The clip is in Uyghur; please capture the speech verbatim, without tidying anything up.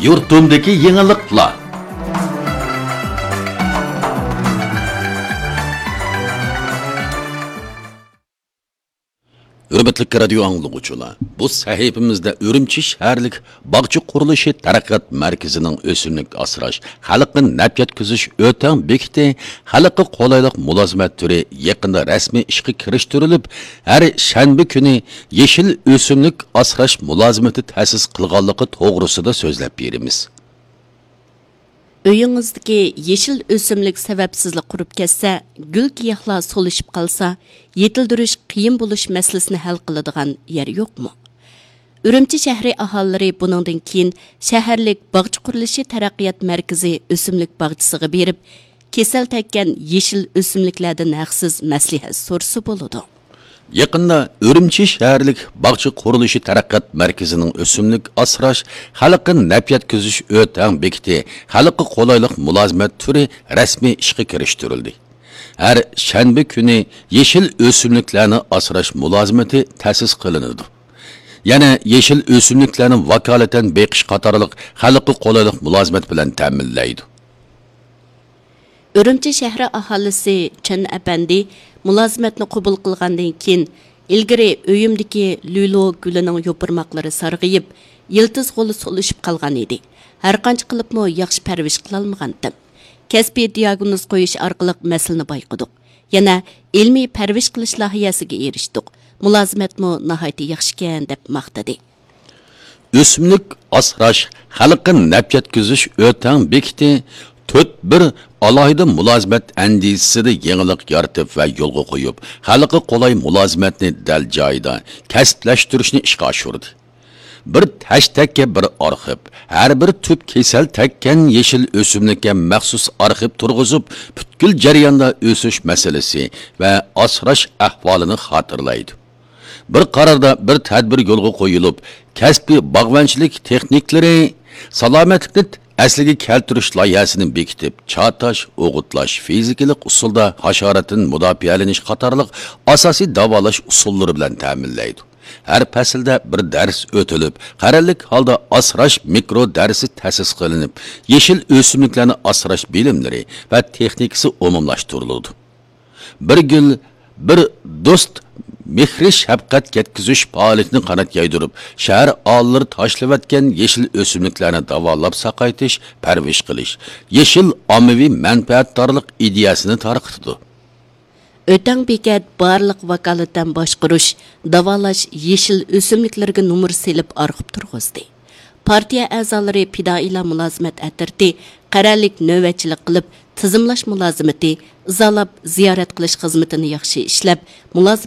يۇرتۇمدىكى يېڭىلىقلار. ھۆرمەتلىك رادىيو ئاڭلىغۇچىلار، بۇ سەھىپىمىزدە ئۈرۈمچى شەھەرلىك باغچە قۇرۇلۇشى تەرەققىيات مەركىزىنىڭ ئۆسۈملۈك ئاسراش، خەلققە نەپ يەتكۈزۈش ئۆتەڭ بېكىتى خەلققە قولايلىق مۇلازىمەت تۈرى يېقىندا رەسمىي ئىشقا كىرىشتۈرۈلۈپ، ھەر شەنبە كۈنى يېشىل ئۆسۈملۈك ئاسراش مۇلازىمىتى تەسىس قىلغانلىقى توغرىسىدا سۆزلەپ بېرىمىز. ئۆيىڭىزدىكى يېشىل ئۆسۈملۈك سەۋەبسىزلا قۇرۇپ كەتسە، گۈل-گىياھلار سولىشىپ قالسا، يېتىلدۈرۈش قىيىن بولۇش مەسىلىسىنى ھەل قىلىدىغان يەر يوقمۇ؟ ئۈرۈمچى شەھىرى ئاھالىلىرى بۇنىڭدىن كېيىن شەھەرلىك باغچە قۇرۇلۇشى تەرەققىيات مەركىزى ئۆسۈملۈك باغچىسىغا بېرىپ، كېسەل تەگكەن يېشىل ئۆسۈملۈكلەردىن ھەقسىز مەسلىھەت سورىسا بولىدۇ. يېقىندا ئۈرۈمچى شەھەرلىك باغچە قۇرۇلۇشى تەرەققىيات مەركىزىنىڭ ئۆسۈملۈك ئاسراش، خەلققە نەپ يەتكۈزۈش ئۆتەڭ بېكىتى خەلققە قولايلىق مۇلازىمەت تۈرى رەسمىي ئىشقا كىرىشتۈرۈلدى. ھەر شەنبە كۈنى يېشىل ئۆسۈملۈكلەرنى ئاسراش مۇلازىمىتى تەسىس قىلىنىدۇ. يەنە يېشىل ئۆسۈملۈكلەرنى ۋاكالىتەن بېقىش قاتارلىق خەلققە قولايلىق مۇلازىمەت بىلەن تەمىنلەيدۇ. ئۈرۈمچى شەھىرى ئاھالىسى چېن ئەپەندى مۇلازىمەتنى قوبۇل قىلغاندىن كېيىن، ئىلگىرى ئۆيۈمدىكى لۈلۇ گۈلىنىڭ يوپۇرماقلىرى سارغىيىپ، يىلتىز غولى سولىشىپ قالغان ئىدى. ھەرقانچە قىلىپمۇ ياخشى پەرۋىش قىلالمىغانتىم. كەسپىي دىياگنوز قويۇش ئارقىلىق مەسىلىنى بايقىدۇق. يەنە ئىلمىي پەرۋىش قىلىش لايىھەسىگە ئېرىشتۇق. مۇلازىمەتمۇ ناھايىتى ياخشىكەن، دەپ ماختىدى. ئۆسۈملۈك ئاسراش، خەلققە نەپ يەتكۈزۈش ئۆتەڭ بېكىتى تۆت بىر ئالاھىدە مۇلازىمەت ئەندىزىسىدە يېڭىلىق يارىتىپ ۋە يولغا قويۇپ، خەلققە قولاي مۇلازىمەتنى دەل جايىدا كەسىپلەشتۈرۈشنى ئىشقا ئاشۇردى. بىر تەشتەككە بىر ئارخىپ، ھەر بىر تۈپ كېسەل تەگكەن يېشىل ئۆسۈملۈككە مەخسۇس ئارخىپ تۇرغۇزۇپ، پۈتكۈل جەرياندا ئۆسۈش مەسىلىسى ۋە ئاسراش ئەھۋالىنى خاتىرىلەيدۇ. بىر قاراردا بىر تەدبىر يولغا قويۇلۇپ، كەسپىي باغۋەنچىلىك تېخنىكلىرى، سالامەتلىكنى ئەسلىگە كەلتۈرۈش لايىھەسىنى بېكىتىپ، چاتاش، ئوغۇتلاش، فىزىكىلىق ئۇسۇلدا ھاشاراتتىن مۇداپىئەلىنىش قاتارلىق ئاساسىي داۋالاش ئۇسۇللىرى بىلەن تەمىنلەيدۇ. ھەر پەسىلدە بىر دەرس ئۆتۈلۈپ، قەرەللىك ھالدا ئاسراش مىكرو دەرسى تەسىس قىلىنىپ، يېشىل ئۆسۈملۈكلەرنى ئاسراش بىلىملىرى ۋە تېخنىكىسى ئومۇملاشتۇرۇلىدۇ. بىر گۈل، بىر دوست مېھرى شەپقەت يەتكۈزۈش پائالىيىتىنى قانات يايدۇرۇپ، شەھەر ئاھالىلىرى تاشلىۋەتكەن يېشىل ئۆسۈملۈكلەرنى داۋالاپ ساقايتىش، پەرۋىش قىلىش، يېشىل ئاممىۋى مەنپەئەتدارلىق ئىدىيەسىنى تارقىتىدۇ. ئۆتەڭ بېكەت بارلىق ۋاكالىتەن باشقۇرۇش، داۋالاش يېشىل ئۆسۈملۈكلىرىگە نومۇر سېلىپ ئارخىپ تۇرغۇزدى. پارتىيە ئەزالىرى پىدائىيلار مۇلازىمەت ئەترىتى قەرەللىك نۆۋەتچىلىك قىلىپ، تىزىملاش مۇلازىمىتى، ئىزالاپ زىيارەت قىلىش خىزمىتىنى ياخشى ئىشلەپ، مۇلازىمەت